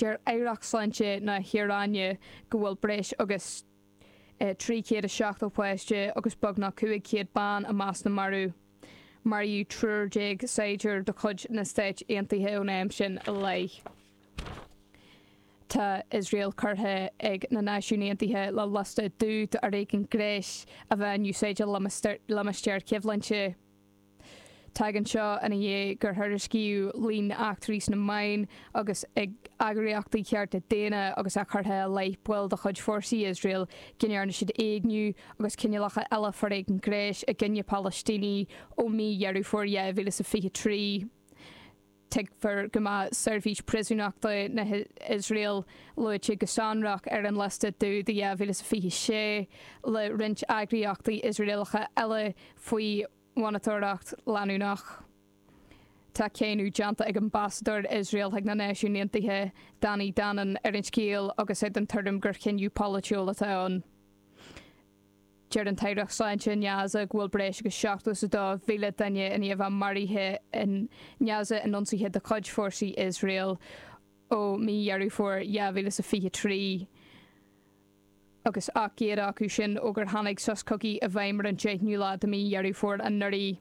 Deir Aireacht Sláinte na hIaráine go bhfuil breis agus 370 páiste agus beagnach 500 bean i measc na marbh. Maraíodh 13 saighdiúir de chuid na Stáit Aontaithe ón am sin i leith. Tá Iosrael curtha ag na Náisiúin Aontaithe le liosta dubh d'fhoréigean gnéis a bheith in úsáid i limistéir choimhlinte. Tagann seo ina dhiaidh gur thuairiscíodh líon eachtraí sna meáin agus ag eagraíochtaí cearta daonna agus é curtha i leith baill de chuid fórsaí Iosrael go ndearna siad éigniú agus cineálacha eile foréigin gnéis i gcoinne Palaistínigh ó mí Dheireadh Fómhair 2023. Tuigtear go mbeadh seirbhís príosúnachta na hIosrael luaite go sonrach ar an liosta dubh do 2026, le roinnt eagraíochtaí Iosraelacha eile faoi mhonatóireacht leanúnach. Tá cáineadh déanta ag ambasadóir Iosrael chuig na Náisiúin Aontaithe, Danny Danon, ar an scéal agus é den tuairim gur chinneadh polaitiúil atá ann. Deir an tAireacht Sláinte i nGaza go bhfuil breis agus 72,000 duine i ndiaidh a bheith maraithe i nGaza in ionsaithe de chuid fórsaí Iosrael ó mí Dheireadh Fómhair 2023. agus 800 acu sin ó gur tháinig sos cogaidh i bhfeidhm ar an 10ú lá de mhí Dheireadh Fómhair anuraidh.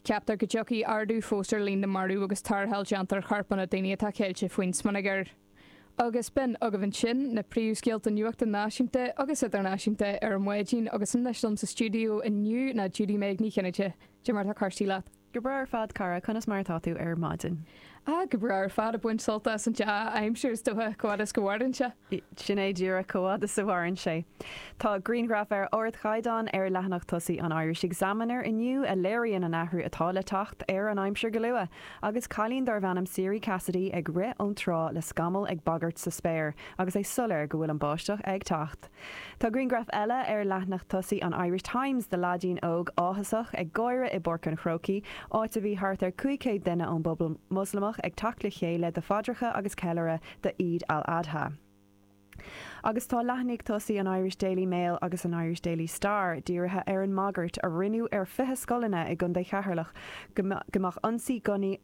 Ceaptar go dtiocfaidh ardú fós ar líon na marbh agus tarrtháil déanta ar chorpanna daoine atá ceilte faoin smionagar. Agus b'in agaibh ansin na príomhscéalta nuachta náisiúnta agus idirnáisiúnta ar maidin agus anois liom sa stiúideo inniu ná Judy Meg Ní Chinnéide. Cad é mar atá cúrsaí leat? Go breá ar fad, cara. Conas mar atá tú ar maidin? Ah, go breá ar fad, ag baint sult as an dea-aimsir is dócha, chomh fhada is go mhaireann sé. Sin é díreach, chomh fhada is a mhaireann sé. Tá grianghraf ar ardchaighdeán ar leathanach tosaigh an Irish Examiner inniu a léiríonn an athrú atá le teacht ar an aimsir go luath, agus cailín darbh ainm Siri Cassidy ag rith ón trá le scamaill ag bagairt sa spéir agus é soiléir go bhfuil an báisteach ag teacht. Tá grianghraf eile ar leathanach tosaigh an Irish Times de leaidín óg áthasach ag gáire i bPáirc an Chrócaigh, áit a bhí thart ar 500 duine ón bpobal Moslamach ag teacht le chéile do phaidreacha agus ceiliúradh do Eid al-Adha. Agus tá leathanaigh tosaigh an Irish Daily Mail agus an Irish Daily Star dírithe ar an mbagairt a rinneadh ar 20 scoileanna i gContae Cheatharlach go mbeadh ionsaí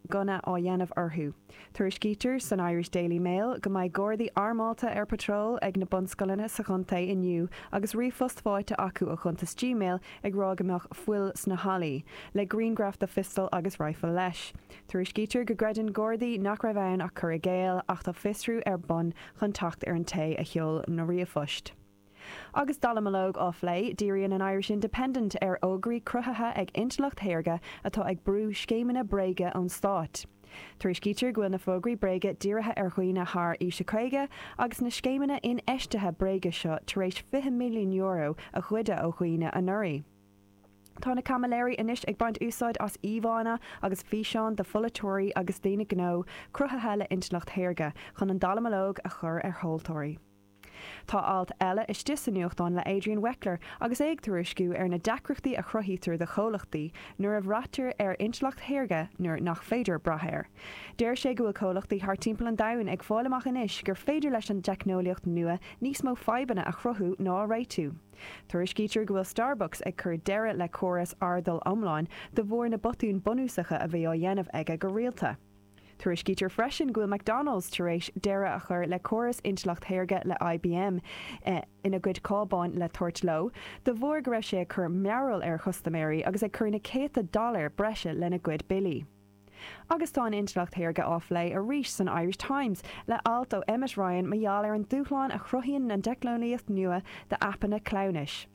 gunna á dhéanamh orthu. Tuairiscítear san Irish Daily Mail go mbeidh Gardaí armálta ar patról ag na bunscoileanna sa chontae inniu agus ríomhphost faighte acu ó chuntas Gmail ag rá go mbeadh fuil sna hallaí, le grianghraf de phiostal agus raidhfil leis. Tuairiscítear go gcreideann Gardaí nach raibh ann ach cur i gcéill ach tá fiosrú ar bun chun teacht ar an té a sheol na ríomhphoist. Agus dallamullóg á phlé, díríonn an Irish Independent ar fhógraí cruthaithe ag intleacht shaorga atá ag brú scéimeanna bréige ón stát. Tuairiscítear go bhfuil na fógraí bréige dírithe ar dhaoine thar aois a 50 agus na scéimeanna infheistithe bréige seo tar éis €20 milliún a ghoideadh ó dhaoine anuraidh. Tá na caimiléirí anois ag baint úsáid as íomhánna agus físeáin de pholaiteoirí agus daoine gnó cruthaithe le intleacht shaorga chun an dallamullóg a chur ar thomhaltóirí. Tá alt eile istigh sa nuachtán le Adrian Weckler agus é ag tuairisciú ar na deacrachtaí a chruthaítear do chomhlachtaí nuair a bhraitear ar intleacht shaorga nuair nach féidir brath air. Deir sé go bhfuil comhlachtaí thart timpeall an domhain ag fáil amach anois gur féidir leis an dteicneolaíocht nua níos mó fadhbanna a chruthú ná a réitiú. Tuairiscítear go bhfuil Starbucks ag cur deireadh le córas fhardail iomláin de bharr na botúin bunúsacha a bhí á dhéanamh aige go rialta. Tuairiscítear freisin go bhfuil McDonald's tar éis deireadh a chur le córas intleacht shaorga le IBM ina gcuid cábáin le tabhairt leo, de bharr go raibh sé ag cur mearbhall ar chustaiméirí agus ag cur na céadta dollar breise lena gcuid billí. Agus tá an intleacht shaorga á phlé arís san Irish Times le alt ó Emmet Ryan mar gheall ar an dúshlán a chruthaíonn an teicneolaíocht nua d'aipeanna cleamhnais.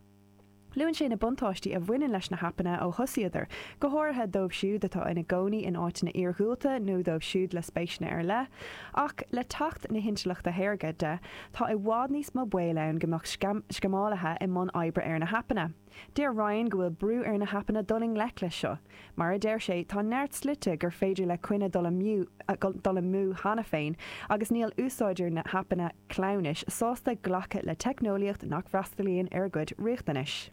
Luann sé na buntáistí a bhaineann leis na haipeanna ó thosaíodar, go háirithe dóibh siúd atá ina gcónaí in áiteanna iarghúlta nó dóibh siúd le spéiseanna ar leith. Ach le teacht na hintleachta shaorga de, tá i bhfad níos mó baol ann go mbeadh sceamálaithe i mbun oibre ar na haipeanna. Deir Ryan go bhfuil brú ar na haipeanna dul i ngleic leis seo. Mar a deir sé, tá neart slite gur féidir le coinne dul amú cheana féin agus níl úsáideoirí na haipeanna cleamhnais sásta glacadh le teicneolaíocht nach bhfreastalaíonn ar a gcuid riachtanais.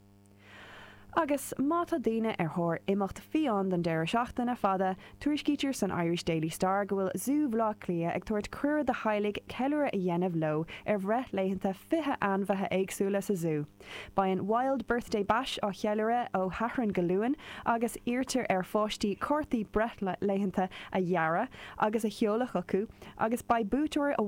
Agus má tá daoine ar thóir imeacht fiáin don deireadh seachtaine fada, tuairiscítear san Irish Daily Star go bhfuil Zú Bhaile Átha Cliath ag tabhairt cuireadh do theaghlaigh ceiliúradh a dhéanamh leo ar bhreithlaethanta 20 ainmhithe éagsúla sa zú. Beidh an Wild Birthday Bash á cheiliúradh ó Shatharn go Luan agus iarrtar ar pháistí cártaí breithlaethanta a dhearadh agus a sheoladh chucu agus beidh buaiteoir amháin.